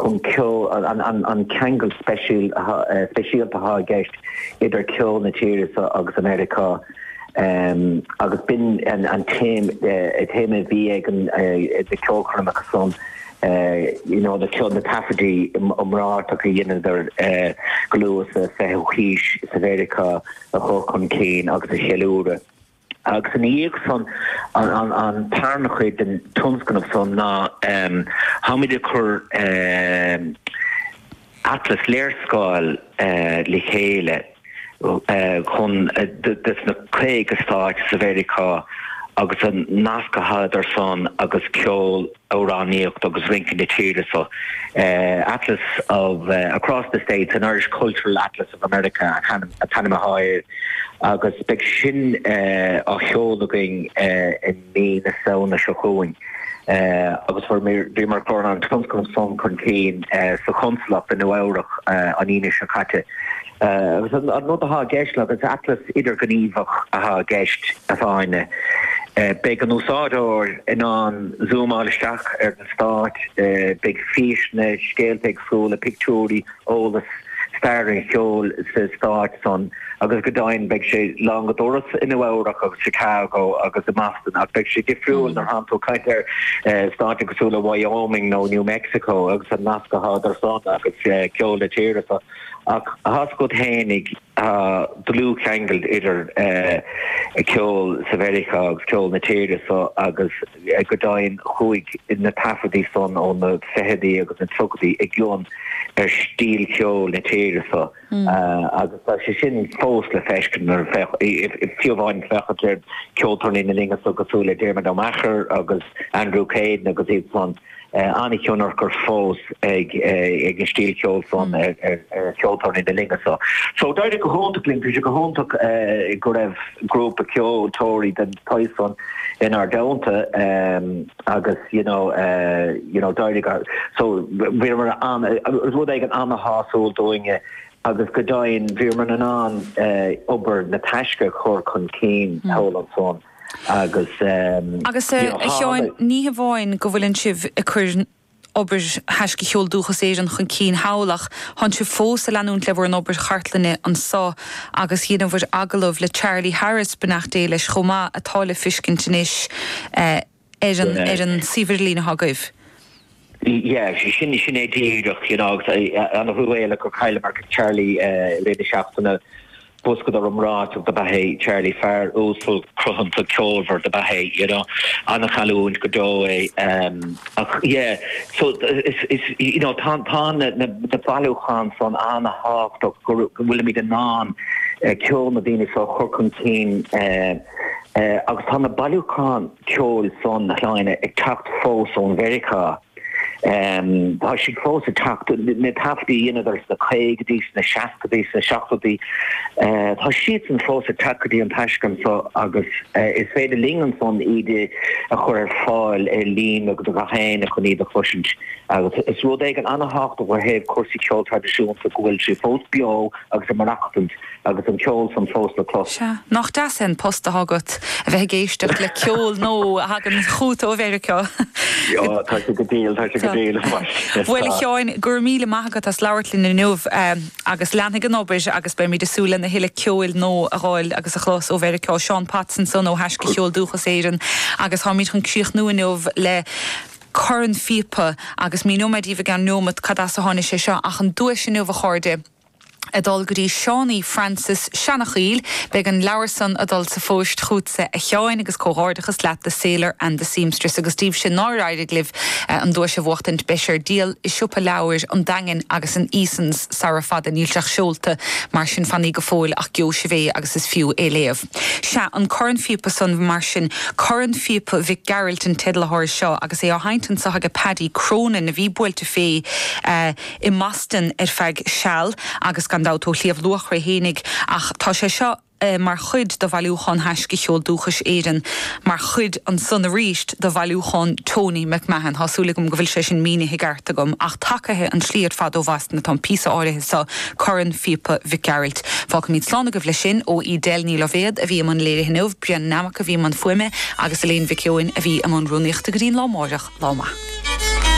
chun ceol, an ceangal speisialta atá i gceist idir ceol na tíre seo agus Americá agus b'in an téama a bhí ag na ceolchoirmeacha san, you know na ceol, na taifeadtaí iomráiteacha a dheineadar go luath sa 20ú haois sa Mheiriceá a chur chun cinn agus a cheiliúradh. Agus ina dhiaidh san, an tarna chuid den tionscnamh san ná táimid ag cur atlas, léarscáil, le chéile chun des na 50 stáit sa Mheiriceá agus an nasc atá idir san agus ceol, amhránaíocht agus rince na tíre so. Atlas of Across the States, an Irish Cultural Atlas of America an t-ainm atá air agus beidh sin á sheoladh againn i mí na Samhna seo chugainn agus bhíomar ag cur an tionscnamh san chun cinn sa Chonsalacht i Nua Eabhrac an Aoine seo caite. Agus an rud atá i gceist le, is atlas idirghníomhach atá i gceist, a Áine. Beidh an úsáideoir in ann zúmáil isteach ar na stáit, beidh físeanna, scéalta éagsúla, pictiúirí, eolas, stair an cheoil sa stát san agus go deimhin beidh sé lán go doras i Nua Eabhrac agus Chicago agus i mBoston ach beidh sé difriúil nuair atánn tú ag caint ar stáit cosúil le Wyoming nó New Mexico agus an nasc atá idir san agus ceol na tíre so. Ach tá's agat fhéinig, tá dlúthcheangal idir ceol sa Mheiriceá agus ceol na tíre so agus go deimhin chuaigh na taifeadtaí san ó na fichidí agus na tríochaidí i gcion ar stíl cheoil na tíre so agus tá sé sin fós le feiscint nuair a fiú amháin féachaint ar ceoltóirí na linne so cosúil le Diarmuid Ó Meachair agus Andrew Caden agus iad san. an-thionchar fós ag an stíl cheoil san ar cheoltóirí na linne so. So d'éirigh go hiontach linn, bhí sé go hiontach go raibh grúpa ceoltóirí den tsaghas san inár dteannta agus you know you know d'éirigh so bhíomar an rud éigin an-shásúil dúinne agus go deimhin bhíomar in ann obair na Taisce a chur chun cinn thall ansan. Agus Agus a Sheáin, ní hamháin go bhfuileann sibh ag cur obair Thaisce Cheol Dúchas Éireann chun cinn thall ach tánn sibh fós ag leanúint le bhur n-obair chartlainne anso agus dheineabhair agallamh le Charlie Harris, beannacht Dé leis, chomh maith, atá le fiscint anois ar an ar an suíomh idirlín atá agaibh. Yeah, sin sin é díreach, you know, agus an-truamhéalach gur chailleamar Charlie i rith na seachtaine. Boscadóir iomráiteach dob ea é Charlie, fear uasal cruthanta ceolmhar dob ea é, you know. An-chailliúint go deo é. Ach yeah, so is, is, you know, tá, tá na, na, na bailiúcháin san an-thábhachtach go, go bhfuilimid in ann ceol na daoine seo a chur chun cinn agus tá na bailiúcháin ceoil san, a Shláine, ag teacht fós ón Mheiriceá. Tá siad fós ag teacht, na taifeadtaí a dheineadar sna caogaidí, sna seascaidí, sna seachtóidí, tá siadsan fós ag teacht go dtí an Taisce anso agus is féidir linn ansan iad a chur ar fáil ar líne do gach éinne chun iad a chloisint. Agus is rud éigin an-thábhachtach ó thaobh cúrsaí ceoil traidisiúnta go bhfuil sé fós beo agus ag maireachtaint. Agus an ceol san fós le clos. Sea. Nach deas é an post atá agat, a bheith ag éisteacht le ceol nua a thagann chugat ó Mheiriceá. Ó, tá sé go diail, tá sé go diail. Bhuel, a Sheáin, go raibh míle maith agat as labhairt linn inniu agus leanfaidh an obair agus beimid ag súil lena thuilleadh ceoil nua a dh'fháil agus a chlos ó Mheiriceá. Seán Potts ansan ó Thaisce Cheol Dúchas Éireann agus táimid chun críochnú inniu le corn phíopa agus míneoidh mé daoibh i gceann neomat cad as a tháinig sé seo ach an duais inniu, a chairde, ag dul go dtí Seánie Francis, Seanachoill. Beidh an leabhar san ag dul sa phost chughatsa a Sheáin agus comhghairdeachas leat The Sailor and the Seamstress agus daoibhse nár éirigh libh an duais a bhuachtaint beidh sé ar díol i siopa leabhair an Daingin agus in Easons sara fada. Níl sé ach seolta mar sin fanaigí go fóill ach gheobhaidh sibh é agus is fiú é léamh. Sea, an corn phíopa san mar sin, Corn Phíopa Mhic Gearailt an teideal atá air seo agus é á sheinnt anso aige Paddy Cronin a bhí buailte fé i mBoston ar feadh seal agus gan dabht ó Shliabh Luachra fhéinig ach tá sé seo mar chuid de bhailiúchán Thaisce Cheol Dúchais Éireann, mar chuid ansan arís de bhailiúchán Tony McMahon. Tá súil agam go bhfuil sé sin mínithe i gceart agam ach tacaithe an tslí ar fad ó Bhoston atá an píosa áirithe seo, Corn Phíopa Mhic Gearailt. Fágfaimid slán agaibh leis sin ó Edel Ní Loibhéad a bhí i mbun léirithe inniu, Brendan Nammock a bhí i mbun fuaime agus Elaine Mhic Eoin a bhí i mbun rúnaíochta go dtí an lá amáireach. Lá maith.